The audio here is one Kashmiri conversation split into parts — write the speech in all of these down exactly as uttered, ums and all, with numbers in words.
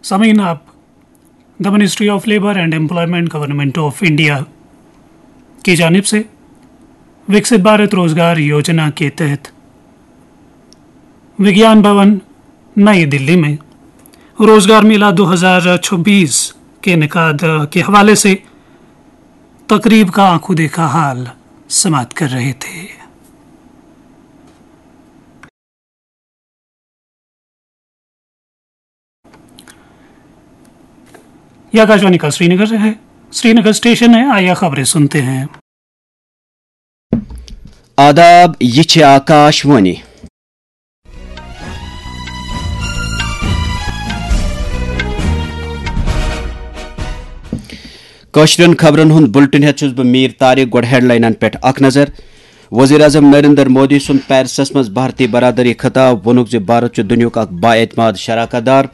سامعین، آپ دا ministry of labour and employment, government of India کی جانب سے وکسیت بھارت روزگار یوجنا کے تحت وگیان بھون نئی دلی میں روزگار میلہ دو ہزار چھبیس کے انعقاد کے حوالے سے تقریب کا آنکھوں دیکھا حال سماعت کر رہے تھے۔ یہ آکاشوانی کا سری نگر ہے، سری نگر اسٹیشن ہے، آئیے خبریں سنتے ہیں۔ آداب، یہ چھ آکاش وانی۔ کٲشرٮ۪ن خبرن ہُنٛد بُلٹن ہٮ۪تھ چھُس بہٕ میٖر طارق۔ گۄڈٕ ہیڈلاینن پٮ۪ٹھ اکھ نظر۔ وزیر اعظم نریندر مودی سُنٛد پیرسس منٛز بھارتی برادری خطاب، ووٚنُکھ زِ بھارت چھُ دُنیاہُک اکھ بااعتماد شراکت دار۔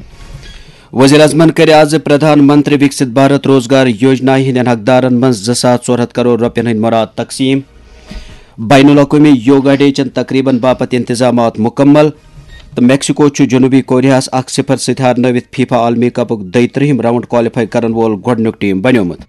وزیر اعظمن کٔرۍ آز پردھان منتری وکسِت بھارت روزگار یوجنا ہٕنٛدٮ۪ن حقدارن منٛز زٕ ساس ژور ہتھ کرور رۄپین ہٕنٛدۍ مُراد تقسیٖم۔ بین الاقوٲمی یوگا ڈے چٮ۪ن تقریبن باپتھ انتظامات مکمل، تہٕ میکسیکو چھُ جنوبی کوریاہس اکھ صفر سۭتۍ ہارنٲوِتھ فیفا عالمی کپُک دۄیہِ ترٛہِم راؤنڈ کوالیفائی کرن وول گۄڈٕنیُک ٹیم بنیومُت۔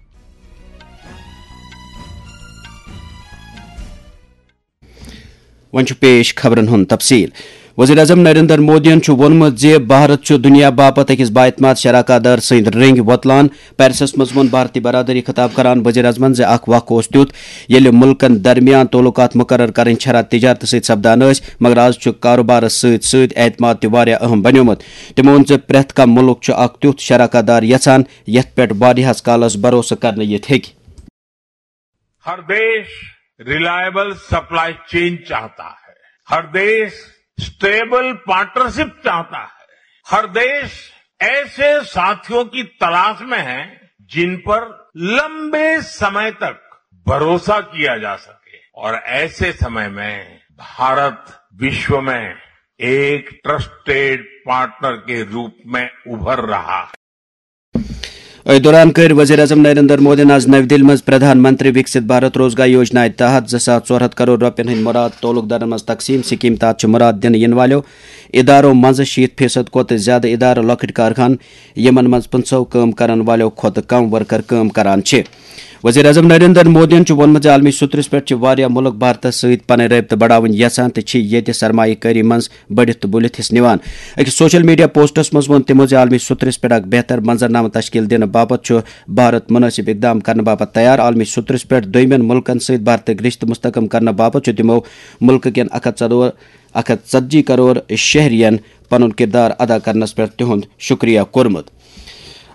وۄنۍ چھُ پیش خبرن ہُنٛد تفصیل۔ وزیر اعظم نریندر مودیَن چھُ ووٚنمُت زِ بھارت چھُ دُنیا باپتھ أکِس بااعتماد شراکت دار سٕنٛدۍ رٔنٛگۍ وۄتلان۔ پیرسس منٛز ووٚن بھارتی برادری خطاب کران وزیر اعظمن زِ اکھ وق اوس تیُتھ، ییٚلہِ مُلکن درمیان تعلقات مقرر کرٕنۍ شرح تجارتہٕ سۭتۍ سپدان ٲسۍ، مگر آز چھُ کاروبارس سۭتۍ سۭتۍ اعتماد تہِ واریاہ اہم بنیومُت۔ تٔمۍ ووٚن زِ پرٛٮ۪تھ کانٛہہ مُلک چھُ اکھ تیُتھ شراکت دار یژھان، یتھ پٮ۪ٹھ واریاہس کالس بھروسہٕ کرنہٕ یِتھ ہیٚکہِ۔ हर देश रिलायबल सप्लाई चेन चाहता है, हर देश स्टेबल पार्टनरशिप चाहता है, हर देश ऐसे साथियों की तलाश में है जिन पर लंबे समय तक भरोसा किया जा सके। और ऐसे समय में भारत विश्व में एक ट्रस्टेड पार्टनर के रूप में उभर रहा है। أتھۍ دوران کٔر وزیر اعظم نریندر مودیَن آز نَوِ دِلہِ منٛز پردھان منتری وکسِت بھارت روزگار یوجنا تحت زٕ ساس ژور ہتھ کرور رۄپیَن ہٕنٛدۍ مُراد تعلق دارن منٛز تقسیٖم۔ سکیٖم تحت چھِ مُراد دِنہٕ یِنہٕ والٮ۪و ادارو منٛزٕ شیٖتھ فیصد کھۄتہٕ زِیٛادٕ ادارٕ لۄکٕٹۍ کارخانہٕ، یِمن منٛز پٕنٛژٕہو کٲم کرن والٮ۪و کھۄتہٕ کم ورکر کٲم کران چھِ۔ وزیر اعظم نریندر مودیَن چھُ ووٚنمُت زِ عالمی سطحس پٮ۪ٹھ چھِ واریاہ مُلک بھارتس سۭتۍ پنٕنۍ رٲبطہٕ بڑاوٕنۍ یژھان تہٕ چھِ ییٚتہِ سرمایہ کٲری منٛز بٔڑِتھ تہٕ بُلِتھ حصہٕ نِوان۔ أکِس سوشل میڈیا پوسٹس منٛز ووٚن تِمو زِ عالمی سطحس پٮ۪ٹھ اکھ بہتر منظرنامہٕ تشکیل دِنہٕ باپتھ چھُ بھارت مُنٲسِب اقدام کرنہٕ باپتھ تیار۔ عالمی سطحس پٮ۪ٹھ دوٚیمٮ۪ن مُلکن سۭتۍ بھارتٕکۍ رشتہٕ مستحکم کرنہٕ باپتھ چھُ تِمو مُلکہٕ کٮ۪ن اکھ ہتھ ژۄدہ، اکھ ہتھ ژتجی کرور شہرین پنُن کردار ادا کرنس پٮ۪ٹھ تِہُنٛد شُکریہ کوٚرمُت۔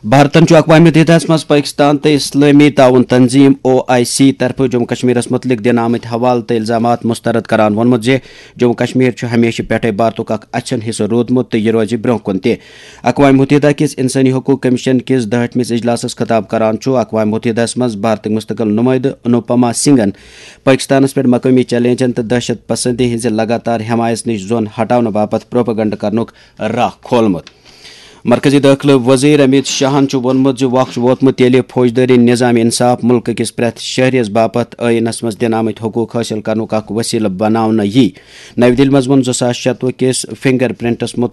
بھارتن چھُ اقوام متحدہس منٛز پٲکستان تہٕ اسلٲمی تعاون تنظیم، او آئی سی، طرفہٕ جموں کشمیرس مُتعلق دِنہٕ آمٕتۍ حوالہٕ تہٕ الزامات مسترد کران ووٚنمُت زِ جموں کشمیر چھُ ہمیشہٕ پٮ۪ٹھَے بھارتُک اکھ اَچھن حصہٕ روٗدمُت تہٕ یہِ روزِ برٛونٛہہ کُن تہِ۔ اقوام متحدہ کِس انسٲنی حقوق کمشن کِس دُہٲٹھمِس اجلاسس خطاب کران چھُ اقوام متحدہس منٛز بھارتٕکۍ مستقل نُمٲیدٕ انوپما سنگھن پٲکستانس پٮ۪ٹھ مقٲمی چیلنجن تہٕ دہشت پسندی ہٕنٛزِ لگاتار حمایژ نِش زۄن ہٹاونہٕ باپتھ پروپیگنڈا کرنُک راہ کھولمُت۔ مرکزی دٲخلہٕ وزیر امیت شاہن چھُ ووٚنمُت زِ وقت چھُ ووتمُت، ییٚلہِ فوجدٲری نظام انصاف مُلکہٕ کِس پرٛٮ۪تھ شہریَس باپتھ ٲیٖنَس منٛز دِنہٕ آمٕتۍ حقوق حٲصِل کرنُک اکھ وسیلہٕ بناونہٕ یِیہِ۔ نَوِ دِلہِ منٛز ووٚن زٕ ساس شَتوُہ کِس فنگر پرنٹس مُتعلق